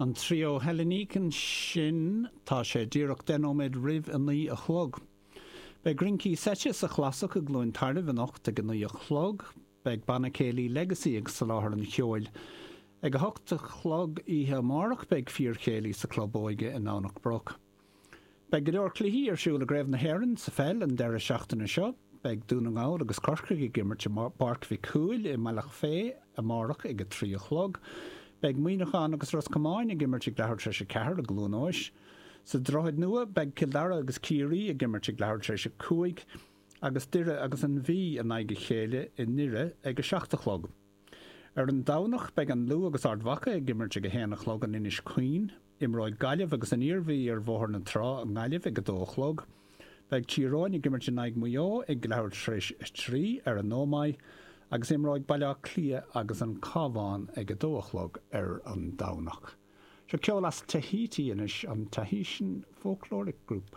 An Trio Hellénique ansin, tá sé díreach 10 nóiméad roimh a 9 a chlog. Beidh rincí seite sa Chlasach i gCluain Tairbh anocht ag a 9 a chlog. Beidh Banna Céilí Legacy ag soláthar an cheoil. Ag a 8 a chlog oíche amárach beidh fíorchéilí sa Chlub Óige i nDomhnach Broc. Beidh go leor cluichí ar siúl i gCraobh na hÉireann sa pheil an deireadh seachtaine seo. Beidh Dún na nGall agus Corcaigh ag imirt i bPáirc Mhic Cumhaill i mBealach Féich amárach ag 3 a chlog. Beidh Muineachán agus Ros Comáin ag imirt ag leathuair tar éis 4 i gCluain Eois. Sa Droichead Nua, beidh Cill Dara agus Ciarraí ag imirt ag leathuair tar éis 5 agus Doire agus an Mhí in aghaidh a chéile i nDoire ag 7 a chlog. Ar an Domhnach, beidh an Lú agus Ard Mhacha ag imirt ag 1 a chlog in Inis Caoin. Imreoidh Gaillimh agus an Iarmhí ar Bhóthar na Trá i nGaillimh ag 2 a chlog. Beidh Tír Eoghain ag imirt in aghaidh Mhaigh Eo ag leathuair tar éis 3 ar an Ómaigh agus imreoidh Baile Átha Cliath agus an Cabhán ag 2 a chlog ar an Domhnach. Seo ceol as Tahiti anois, an Tahitian Folkloric Group.